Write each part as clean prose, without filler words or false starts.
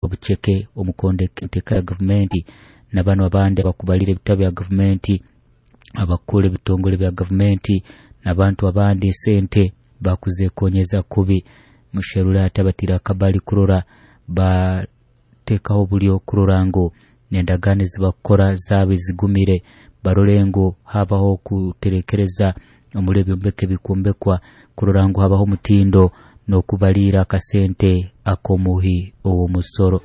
Obuceke omukonde enteka ya gavumenti na bano abandi abakubalira ebitabo bya gavumenti, abakukura ebitongole bya gavumenti n'abantu abandi esente bakuzekonyeza kubi. Musherure hati abatire akabali kurora batekaho obulyo kurora ngu n'endagaano ezibakukora zaaba ezigumire, barole ngu habaho okuterekereza omuri ebyombeko ebikwombekwa kurora ngu habaho omutindo n'okubaliira akasente ak'omuhi ow'omusoro.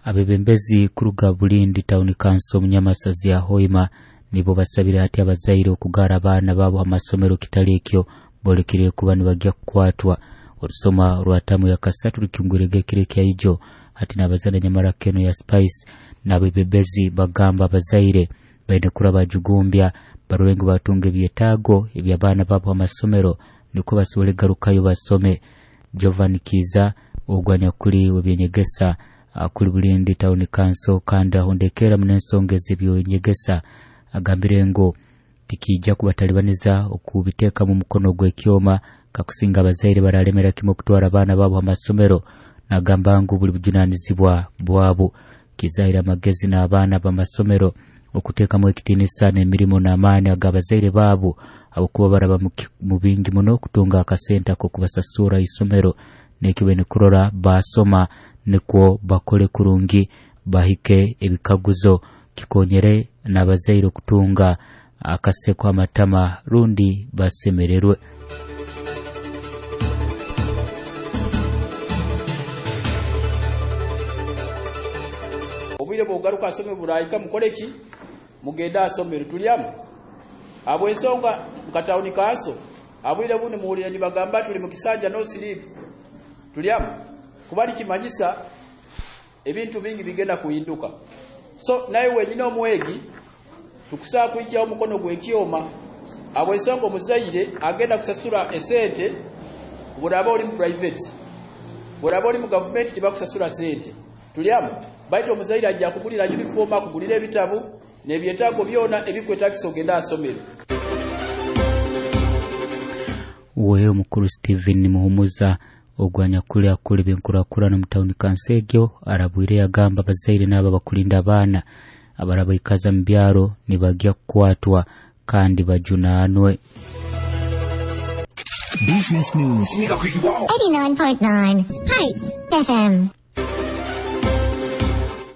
Abebembezi kuruga Bulindi Town Council omunyamasazi ya Hoima nibo basabire hati abazaire okugara abaana baabo ha masomero, kitali ekyo bolekere kuba nibagya kukwatwa. Olusoma rwa tamu ya kasatu rukingwirege ekiro ekyaijo hati n'abazana nyamara keno ya Spice n'abebembezi bagamba abazaire baine kura bajugumbya barole ngu batunga ebyetaago eby'abaana baabo ha masomero nikwo basobole garukayo basome. Jovan Kiza ogwo anyakuli w'ebyenyegesa kuli Bulindi Town Council kandi ahondekera muno ensonga ez'ebyenyegesa agambire ngu tikijja kubatalibaniza okubiteekamu omukono gw'ekyoma kakusinga abazaire baralemera kimwe okutwara abaana baabo ha masomero, nagamba ngu buli bujunanizibwa bwabo. Kizaire amagezi n'abaana b'amasomero okuteekamu ekitiinisa n'emirimo n'amaani ag'abazaire baabo habwokuba baraba mu bingi muno kutunga akasente ak'okubasasura isomero, nekyo baine kurora basoma nikwo bakole kurungi bahike ebikaguzo kikonyere n'abazaire okutunga akaseko amatama rundi basemererwe. Obwire bwogaruka asome burahika mukole ki mugende asomere tulyamu abwensonga mukatawuni kanso abwire bundi muwulire nibagamba tuli mu kisanja no sleep tulyamu kuba likimanyisa ebintu bingi bigenda kuhinduka. So naye wenyine omwegi tukusaa kwijjawo omukono gw'ekyoma abwensonga omuzaire agenda kusasura esente bw'oraba oli mu private, bw'oraba oli mu gavumenti tibakusasura sente tulyamu, baitu omuzaire ajja kugulira uniform, akugulira ebitabu n'ebyetaago byona ebikwetagisa ogenda asomero. We omukuru Stephen Muhumuza ogwo anyakuli akula ebyenkurakurana omu tawuni kanso egyo arabwire yagamba abazaire n'abo abakulinda abaana abarabaikaza mu byaro nibagya kukwatwa kandi bajunaanwe. Business News 89.9 Spice FM.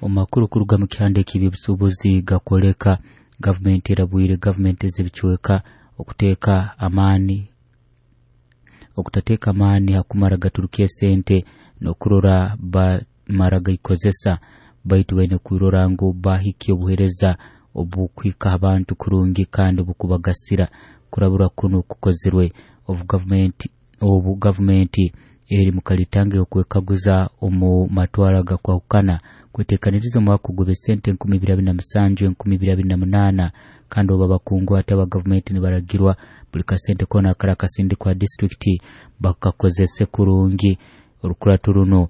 Omakuru kuruga mu kihanda eky'ebyobusuubuzi gakwoleka gavumenti erabwire gavumenti ez'ebicweka okuteeka amaani okutateeka amaani hakumara gaturuka esente n'okurora bamara gaikozesa, baitu baine kwirora ngu bahikya obuheereza obukuhika abantu kurungi kandi obukubagasira. Kurabura kuno kukozerwe obu gavumenti eri mu kalitange okwekaguza omu matwara gakwahukana kwetekaniriza omwaka ogw'ebisente 2027 2028, kandi obu abakungu ate aba gavumenti nibaragirwa buli kasente koona akara akasindikwa disitulikiti bakakozese kurungi. Orukurato runo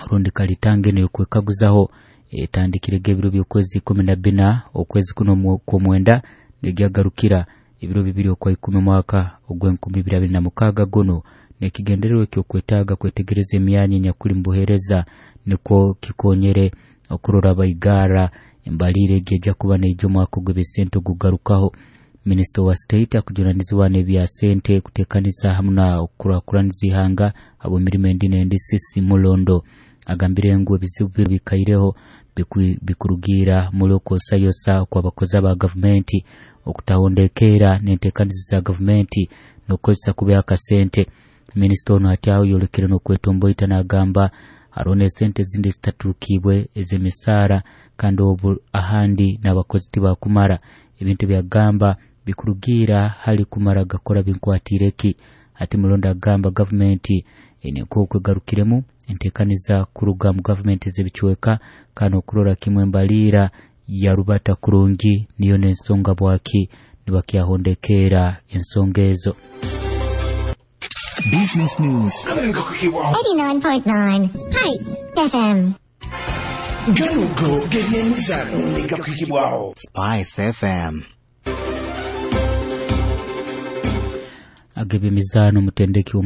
orundi kalitange neyokwekaguzaho etandikirege ebiro by'okwezi 14 okwezi kuno kw'omwenda negyagarukira ebiro 2 okwa 10 mwaka ogw'e2026 guno, nekigendererwa ekyokwetaaga kwetegereza emyanya enyakuli mu buheereza nikwo kikonyere okurora baigara embalire egi ejja kuba neija omwaka ogw'ebisente ogugarukaho. Minisita wa state akujunanizibwa n'ebya sente kuteekaniza hamu na okukurakuraniza ihanga habw'emirimo endi n'endi Sisi Mulondo agambire ngu ebizibu bikaireho bikurugiira muri okwosayosa okw'abakozi aba gavumenti okutahondekeera n'enteekaniza za gavumenti n'okukozesa kubi akasente. Minisita ono hati aho yolekere n'okwetomboita n'agamba hariho n'esente ezindi ezitaturukibwe ez'emisaara kandi obu ahandi n'abakozi tibakumara. Ebintu byagamba bikurugiira hali kumara gakora binkwatire ki. Hati Mulondo agamba gavumenti ene nk'okwegarukiremu enteekaniza kuruga mu gavumenti ez'ebicweka kandi okurora kimwe embaliira yarubata kurungi niyo n'ensonga bwaki nibakyahondekeera ensonga ezo. Business News 89.9 Spice FM. Ganugo g'ebyemizano negakuhikibwaho Spice FM. Ag'ebyemizaano omutendeki